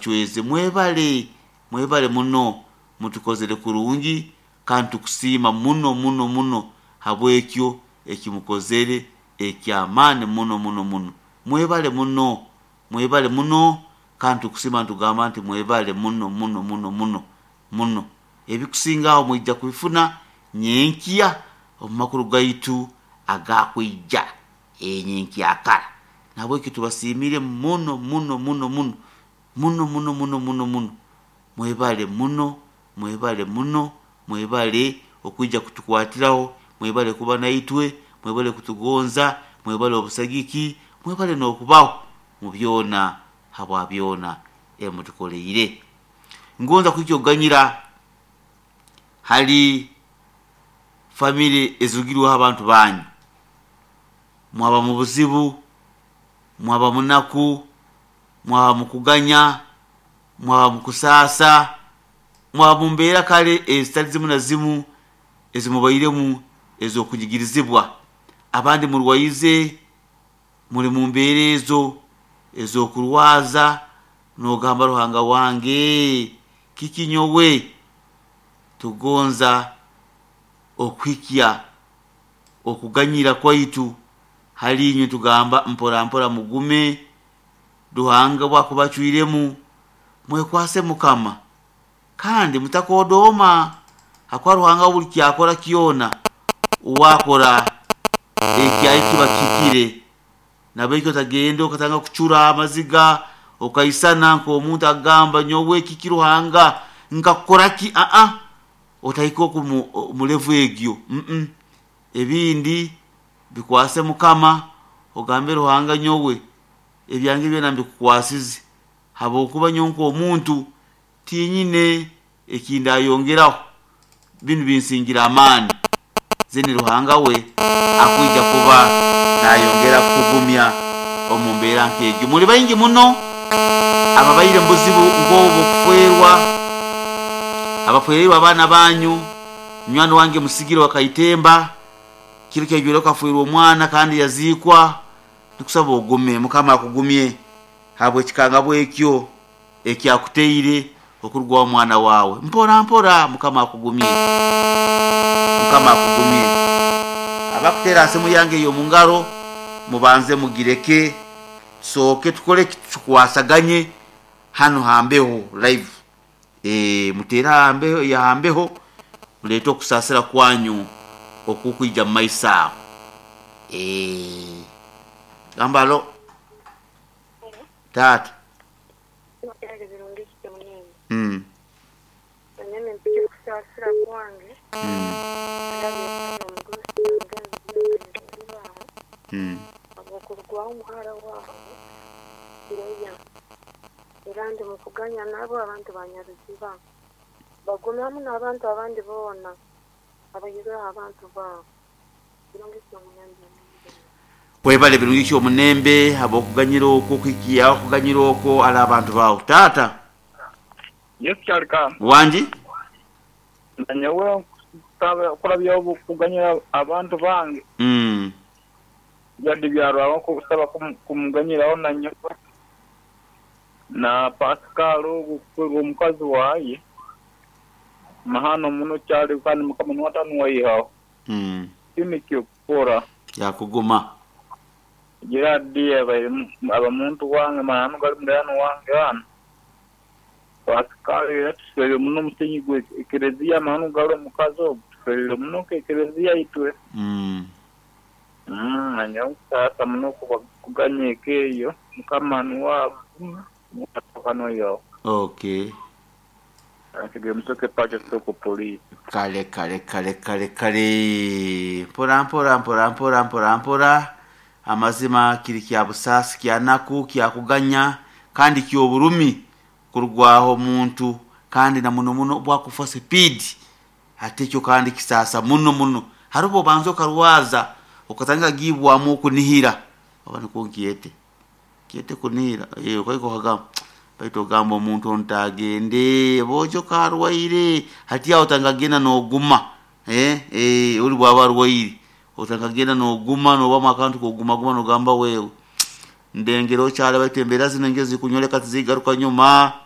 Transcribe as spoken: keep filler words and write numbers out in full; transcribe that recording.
Bachwezi, mwebale, mwebale muno, mutukozere kurungi kandi tukusiima muno muno muno habwekyo ekimukozere ekyamaani muno muno muno. Mwebale muno, mwebale muno, kandi tukusiima nitugamba nti mwebale muno muno muno muno muno. Ebikusingaho mwija kubifuna nyenkya omu makuru gaitu agakwija enyenkyakara. Nahabwekyo tubasiimire muno muno muno muno muno muno muno muno muno. Mwebale muno, mwebale muno, mwebale okwija kutukwatiraho, mwebale kuba naitwe, mwebale kutugonza, mwebale obusagiki, mwebale n'okubaho mu byona habwa byona emutukoleire. Ngonza kwija okuganyira hali famire ezirugirweho abantu banyu. Mwaba mu buzibu, mwaba munaku, mwaba mukuganya, mwaba mukusaasa, mwaba mu mbeera kale ezitali zimu na zimu ezimubairemu ez'okunyigirizibwa. Abandi murwaize, muri mu mbeera ezo ez'okurwaza, n'ogamba Ruhanga wange kiki nyowe? Tugonza okuhikya okuganyira kwaitu hali inywe, tugamba mpora mpora mugume, Ruhanga bwakubacwiremu mwekwase Mukama kandi mutakodooma, hakuba Ruhanga buli kyakora kyona uwakora ekyayi kiba kihikire. Nabwekyo otagenda okatandika kucura amaziga okaisana nk'omuntu akugamba nyowe kiki Ruhanga nkakukoraki? Aa, otahika oku omu level egyo, mm ebindi bikwase Mukama ogambe Ruhanga nyowe ebyange byona mbikukwasize habwokuba nyowe nk'omuntu tinyine ekindayongeraho, binu binsingire amaani. Then Ruhanga we akwija kuba nayongera kukugumya omu mbeera nk'egyo. Muli baingi muno ababaire mu buzibu nk'obwo okufwerwa, abafwereirwe abaana banyu. Munywani wange Musigire wa Kaitemba kiro kyajwire akafwerwa omwana kandi yaziikwa. Tukusaba ogume, Mukama akugumye habw'ekikangabwa ekyo ekyakuteire okurugwaho omwana waawe. Mpora mpora Mukama akugumye, Mukama akugumye. Abakuteera aha simu yange ey'omu ngaro mubanze mugireke, tusooke tukore ki, tukwasaganye hanu hambeho live. Eeh muteere aha hambeho muleete okusaasira kwanyu okukwija mu maiso aho. Eeh gamba halo taata. Mm. Mm. Mm. Habw'okurugwaho omuhara waabo Leah, era ndi mukuganya nabo abantu ba Nyaruziba bagume hamu n'abantu abandi boona abaihirweho abantu baabo. Birungi ki omunembe? Webale Birungi ki omunembe habw'okuganyira okwo, okuhikya okuganyira okwo ali abantu baawe. Taata. Yesu kyalika. Wangi? Nanyowe nkusaba okuganyira abantu bange. Mm. Byandi byarwaho nkusaba kumuganyiraho nanyowe na Pascal okufwerwa omukazi waye mahano muno kyali kandi Mukama niwe atanuwaihaho. Mm. Tini kyokukora. Yakuguma. Gerard aba muntu wange mahano gali mulirano wange hano. Pascal era tuswerire muno omusenyi gwe ekereziya mahano gali omukazi ogwo tuswerire muno nka ekereziya itwe. Mm. Mm, nanyowe nkusaasa muno kuganya eka eyo Mukama niwe atanoihaho. Okay. Musoke pacha soko police. Kale kale kale kale kale, mpora mpora mpora mpora mpora mpora. Amazima kiri kya busaasi, kya naku, kyakuganya kandi ky'oburumi kurugwaho omuntu, kandi na muno muno bwakufa sipiidi ate ekyo kandi kisaasa muno muno. Hariho obanza okarwaza okatandika kugibwamu okunihira, oba nikwo nkyete nkyete kunihira, okahika okagamba baitu ogamba omuntu onu tagende boojo karwaire, hati aho otandika kugenda n'oguma, eh, eh, ori bwaba arwaire otandika kugenda n'oguma n'obamu akantu k'ogumaguma n'ogamba wewe ndengera okyali baitu embeera zinu engeri zikunyoleka tizigaruka nyuma.